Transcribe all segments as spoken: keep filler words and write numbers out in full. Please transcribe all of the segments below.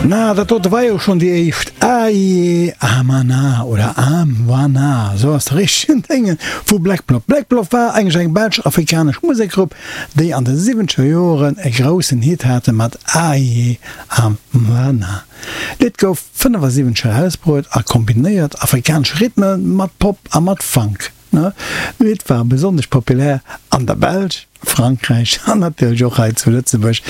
Na, dat dote war jo schonn déi éischt Aye Amana oder Amwana, esou ass de richtegen Déngen, vu Black Blob. Black Blob war eigentlech eng belsch-afrikanesch Musekgrupp, déi an de siwwenzeger Joren e groussen Hit hate mat Aye Amwana. D'Lidd gouf fënnefasiwwenzeg erausbruet a kombinéiert afrikanesch Rhythme mat Pop a mat Funk. D'Lidd war besonnesch populär an der Belsch, Frankräich an natierlech och hei zu Lëtzebuerg.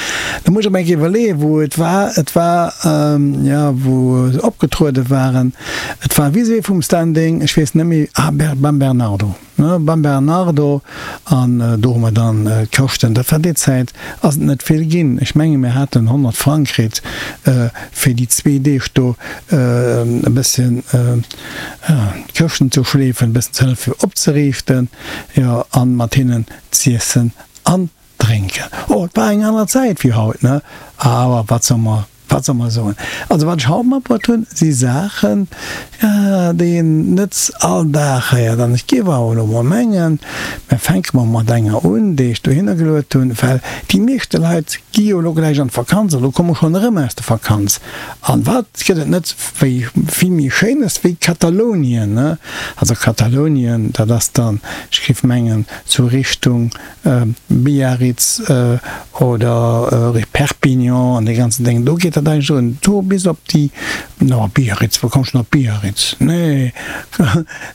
Da muss ech mer eng Kéier iwwerleeën, wou et war. Et war, jo, wou se opgetruede waren. Et war vis-à-vis vum Standing, ech weess net méi, ah, beim Bernardo. Ne, beim Bernardo, an do hu mer dann d'Këschten, dat war déi Zäit, ass et net vill ginn, ech menge mir haten honnert Frang kritt fir déi zwee Deeg do e bësschen d'Këschten ze schleefen, e bëssen ze hëllefen fir opzeriichten, jo, an mat hinnen z'iessen an drénken. Oh, et war eng aner Zäit wéi haut, ne, awer wat soll mer Wat soll mer soen? Also wat ech haut matbruet hunn, si Saachen, déi een net all Dag héiert. An ech géif awer elo mol mengen, mir fänke mol mat enger un, déi ech dohinner geluet hunn, well déi meeschte Leit gi jo elo gläich an d'Vakanz oder komme schonn erëm aus der Vakanz. An wat gëtt et net wéi vill méi Schéines wéi Katalounien, ne? Also Katalounien, dat ass dann, ech géif mengen, sou Richtung Biarritz oder Perpignan an dee ganzen Déng, do geet dat eigentlech un, do bis op déi, no Biarritz, wou komm ech denn op Biarritz? Nee,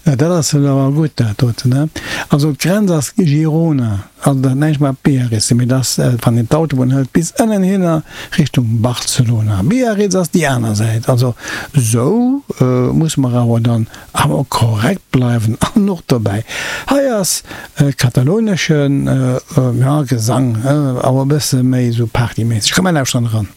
dat ass elo awer gutt dat doten, ne? Also d'Grenz ass Girona, also dat huet näischt mat Biarritz ze dinn, mee dat ass, wann een d'Autobunn hëlt bis ënnenhinner Richtung Barcelona. Biarritz ass déi aner Säit. Also sou musse mer awer dann awer korrekt bleiwen an och dobäi. Hei ass e kataloneschen, ja, Gesang, awer e bësse méi sou partyméisseg. Komm mer lauschteren eran.